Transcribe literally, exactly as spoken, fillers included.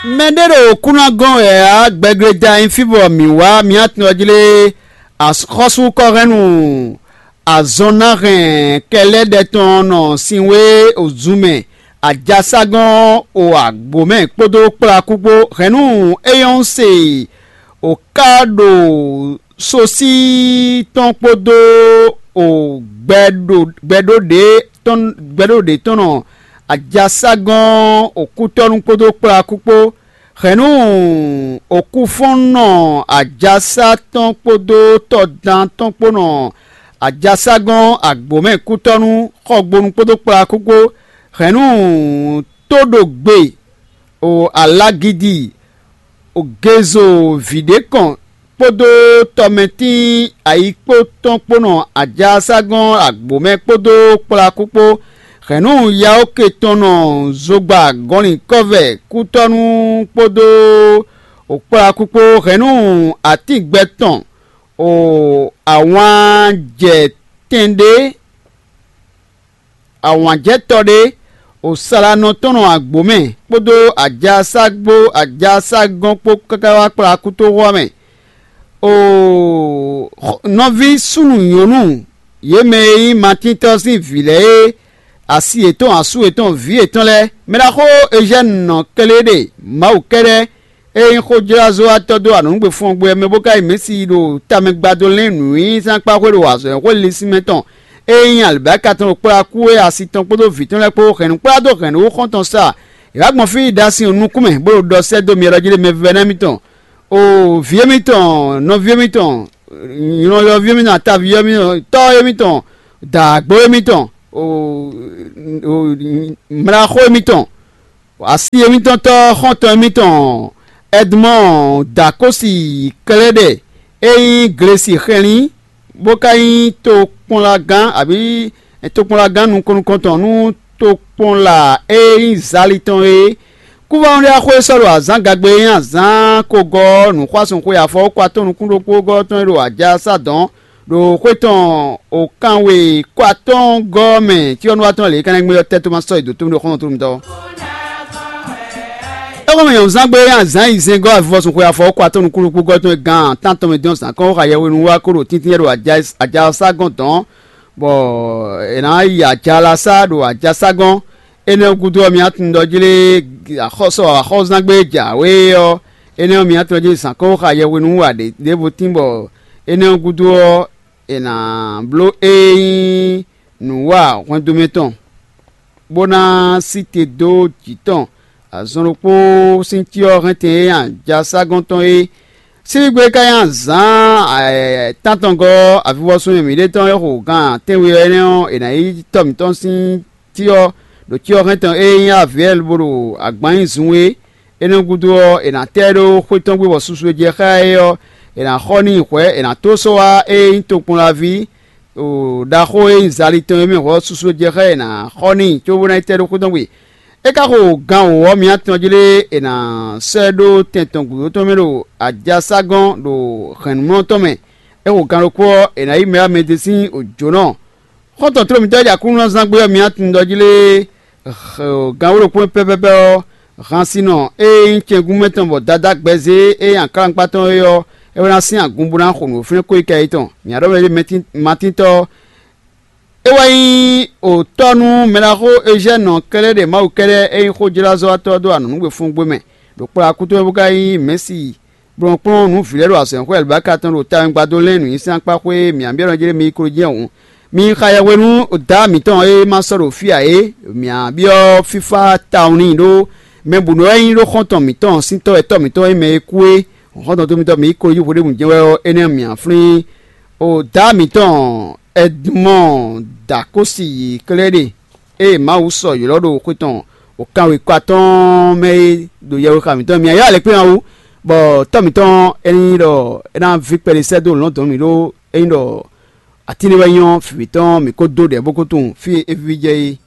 Mɛ ɖé ɖo kúnagɔ́n wɛ ǎ, gbɛgblé da nyí fí bɔ mǐ wá mǐ atɔn ɔ́ jlé. Axɔ́súkɔ́hɛ́nnu azɔn ná hɛn kɛlɛ́ɖɛ tɔn nɔ sinwé ozun mɛ, ajaságɔ́n o agbǒ mɛ kpódó kplakú kpó. Hɛ̌nnu é nyɔ́ se o ká ɖo sosí tɔn kpódó o gbɛɖo gbɛɖó ɖě tɔn gbɛɖó ɖě tɔn nɔ ajaságɔ́n okútɔ́nú kpódó kplakú kpó. Hɛ̌nnu okúfɔ́nnɔ ajasá tɔn kpódó tɔdan tɔn kpó nɔ ajaságɔ́n agbǒmɛ kútɔ́nú xɔgbonu kpódó kplakú kpó. Hɛ̌nnu tó ɖo gbe o alagidi o gezo vǐ ɖé kɔn kpódó tɔmɛtín ayikpó tɔn kpó nɔ ajaságɔ́n agbǒmɛ kpódó kplakú kpó. Hɛ̌nnu yaóke tɔn nɔ zogba gɔnlin kɔ́vɛ kútɔ́nú kpódó o kplakú kpó. Hɛ̌nnu atín gbɛ tɔn o awǎn jɛ tɛn ɖé awǎnjɛtɔ́ ɖé o salanɔ tɔn nɔ agbǒ mɛ kpódó ajaságbó ajaságɔ́n kpó káká wá kplá kútóxó ɔ́ mɛ. Oo, nɔví súnnu nyɔ̌nu, yě mɛ e nyí Matíntɔ́ sín vǐ lɛ́ɛ e asi yětɔn asú yětɔn vǐ yětɔn lɛ́ɛ, mɛɖaxó Ezɛ́nu nɔ kléɖe Mawu kɛ́ɖɛ́ e nyí xójlázɔ́watɔ́ dó anɔ̌nugbe fɔ́ngbó ɔ́ mɛ bó ka yi Mɛ̌si ɖo tamɛ gbadó lɛ́n nǔnyinyízán kpá xwé ɖo azɔ̌ e xwé linsin mɛ tɔn e nyí alibáka tɔn ɖo kplá kú e asi tɔn kpódó vǐ tɔn lɛ́ɛ kpó hɛ̌nnu kplá dó hɛ̌nnu xɔ́ntɔn sa. È wǎ gbɔn fí yi ɖo asi ɔ́ nukún mɛ, bó ɖo ɖɔ sɛ́ dó myɔ ɖɔ jí ɖe mɛ vívɛ́ná mitɔn. O vǐ émítɔn, nɔví émítɔn, nylɔyɔví émítɔn, ataví émítɔn, tɔ́ émítɔn, dǎgbó émítɔn, o, o, mlaxó émítɔn, asi émítɔn tɔ́ xɔ́ntɔn émítɔn, Ɛdmɔ́ɔ Dakósi Klɛ́ɖɛ e nyí Glesi xɛlín, bó ka nyí tokpɔnlagán abǐ tokpɔnlagán nukɔn nukɔntɔn nú tokpɔnla e nyí Zali tɔn é. Kúvɔ́núɖiaxó e sɔ́ ɖo azǎn gagbe e nyí azǎn kogɔ́ ɔ́, nǔxwásún xwe afɔwúkɔ atɔ́ nukún ɖokpó gɔ́ tɔn e ɖo aja sá dɔ̌n ɖo xwé tɔn o kanwe kɔ atɔ́ɔ́ngɔ́ ɔ́ mɛ cyɔ́núwatɔ́ lě kánɛ́ gbé ɔ́ tɛ́ tó ma sɔ́ yi dǒ tómí ɖo xɔ́ntɔn tómítɔ́. É xɔ́mɛ nyɔ̌nuzángbe e nyí azǎn yi zɛngɔ́ avivɔsun xwe afɔwúkɔ atɔ́ nukún ɖokpó gɔ́ tɔn e gan tántɔn mɛ dín ɔ́ zǎn kɔn xá yɛhwenu wá kó ɖo tíntín ɖo aja sá gɔ́n dɔ̌n, bɔ è nǎ yi aja la sá ɖo aja sá gɔ́n. Énɛ́ ɔ́ gúdo ɔ́, mi tunwun ɖɔ jlé axɔ́sɔ axɔ́zángbé jǎwe ɔ́, énɛ́ ɔ́, mi tunwun jí zǎn kɔn xá yɛhwenu wú ǎ ɖěvo tín, bɔ énɛ́ ɔ́ gúdo ɔ́, è nǎ bló ée nyí nǔwa hwɛndo mɛ tɔn, bó ná sí te dó jǐ tɔn azɔn ɖokpó sín cyɔ hɛntɛn e nyi ajaságɔ́n tɔn é. Síbígbe ka nyi azǎn tántɔngɔ́ avivɔsun e mǐɖée tɔn é xo gan tɛ́nwe ɔ́ énɛ́ ɔ́, è nǎ yí tɔ́ mǐtɔn sín cyɔ ɖo cyɔ hɛntɔn e nyí avǐɛl bó ɖo agban nyi zun é. Énɛ́ gúdo ɔ́, è nǎ tɛ ɛ ɖó xwé tɔn gbe bɔ susu e jɛ xá ɛ é ɔ́, è nǎ xɔ n'i hwɛ̌; è nǎ tó sɔ́ wá ée nyí tokpɔnlaví ɖaxó e nyí Zali tɔn é mɛ hwɛ̌ ɔ́, susu e jɛ xá ɛ è nǎ xɔ n'i cóbó ná yi tɛ ɖó xwé tɔn gbe. É ka xo gan wǒ ɔ́, mi atɔn jlé è nǎ sɔ́ ɛ ɖó tɛn tɔn gǔdo tɔn mɛ ɖo ajaságɔ́n ɖo hɛ̌nnumlɔ́ tɔn mɛ. É xo gan ɖokpó ɔ́, è nǎ yí mɛ wá mɛ ɖé sín jǒnɔ. Xɔ́ntɔn tlólǒmítɔ́ e ɖi Aklúnɔzán gbé ɔ́, mi atɔn ɖɔ jí lé? Ganwé ɖokpó pɛ́pɛ́pɛ́ ɔ́, hansinɔ e nyí cɛngúmɛ tɔn bɔ Dadá gbɛzé e nyí aklangba tɔn é ɔ́, é wɛ ná sín agun bó ná xo nǔ fínɛ́ kó yi kɛ yětɔn. Mǐ ɖɔ mɛ ɖé Matíntɔ́ ɔ́, é wɛ nyí òtɔ́ nú mɛɖaxó Ezɛ́nɔ kɛ́ɖɛ́ ɖe Mawu kɛ́ɖɛ́ e nyí xójlázɔ́watɔ́ dó anɔ̌nugbe fún gbé mɛ ɖo kplɔ́ akúto mɛ bó ka nyí Mɛ̌si kplɔ́nkplɔ́n nǔ vǐ lɛ́ɛ ɖo azɔ̌xwɛ alibáka tɔn ɖo tawɛngbadó lɛ́n nǔnyiseankpa xwé e mǐ byɔ́ nɔ jlé mi yi klo jɛ́n hǔn. Mi yi xa yɛhwenu daa mǐtɔn e ma sɔ́ ɖo fí ǎ é, mǐ byɔ́ fífá tawun n'i ɖó mɛ bǔ nɔ wɛ nyí ɖó xɔ́ntɔn mǐtɔn sín tɔ́ wɛ tɔ́ mǐtɔn e mɛ e kú é. Xɔ́ntɔn tó mitɔn mǐ yi klo jí hweɖěbǔ jɛ́n wɛ ɔ́, énɛ́ mǐ flín o daa mǐtɔn Ɛdmɔ́ɔ Dakósi yi klɛ́ ɖe. Ée Mawu sɔ ylɔ́ ɖo xwe tɔn wǒkanwekɔ atɔ́ɔ́n mɛ é ɖo yɛhwexa mǐtɔn mɛ mǐ ylɔ́ alɛkplɔ́n ɔ́ wú, bɔ tɔ́ mǐtɔn é nyí ɖɔ é ná ví kpɛɖé sɛ́ dó lɔ̌ndɔ̌n mǐ ɖó é nyí ɖɔ atín ɖé wɛ nyɔ́ vǐ mǐtɔn mǐ ko dó ɖɛ bó ko tunwun fí e é víví jɛ é.